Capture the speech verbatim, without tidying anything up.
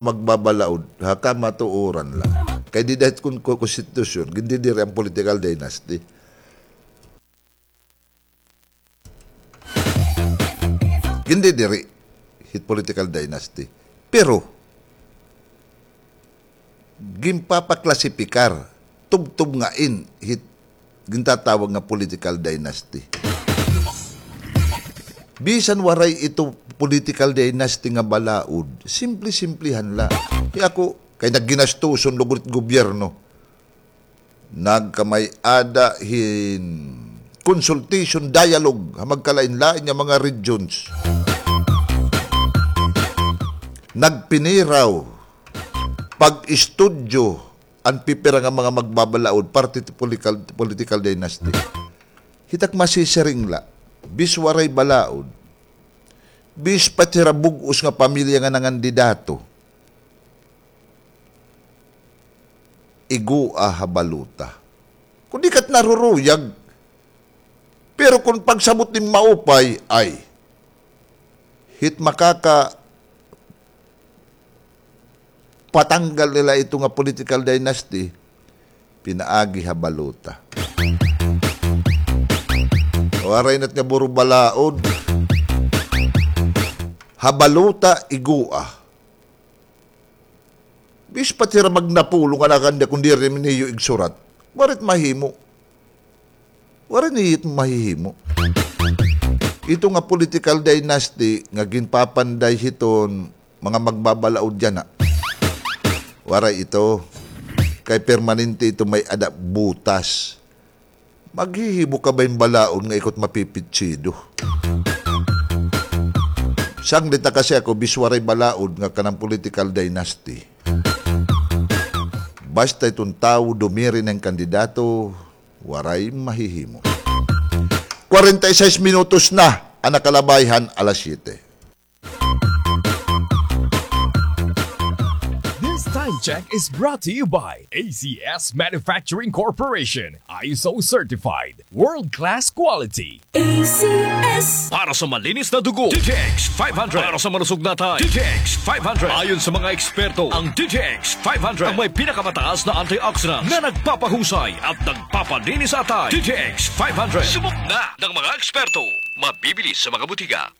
magbabalaod, ha kamatuoran la. Kay dida hit kon-, kon-, konstitusyon, gindidiri an political dynasty. Gindidiri hit political dynasty. Pero, ginpapaklasifikar, tubtob ngain hit gintatawag nga political dynasty. Bisan waray ito political dynasty nga balaod, simple-simplehan la. Kay ako, kay nagginastuson lugod it gobyerno. Nagkamay-ada hin consultation, dialogue, ha magkalain-lain nga mga regions. Nagpiniraw, pag-istudyo, an pipira nga mga magbabalaod, parte ti political, political dynasty. Hit ak masisiring la, bis waray balaod, bis pati hira bug-os nga pamilya nga nangandidato, igua ha balota. Kon di kat naruruyag, pero kon pagsabot nin maupay, ay, hit makaka-, patanggal nila ito nga political dynasty, pinaagi ha balota. Waray na it nga buro balaod. Ha balota, igua. Bis pati hira magnapolo nga nakanda kon diri man niyo igsurat. Waray it mahimo. Waray niyo it mahihimo. Ito nga political dynasty nga ginpapanday hiton mga magbabalaod yana. Waray ito. Kay permanente ito may-ada butas. Maghihimo ka ba hin balaod nga ikaw it mapipitsido? Sanglit na kasi ako, bis waray balaod nga kanan political dynasty. Basta iton tawo dumiri na hin kandidato, waray mahihimo. Kwarenta y seis minutos na an nakalabay han alas siyete. This time check is brought to you by A C S Manufacturing Corporation, I S O certified, world-class quality. A C S. Para sa malinis na dugo, D T X five hundred. Para sa malusog na atay, D T X five hundred. Ayon sa mga eksperto, ang D T X five hundred ang may pinakamataas na antioxidants na nagpapahusay at nagpapalinis sa atay. D T X five hundred. Subok na ng mga eksperto. Mabibili sa mga butika.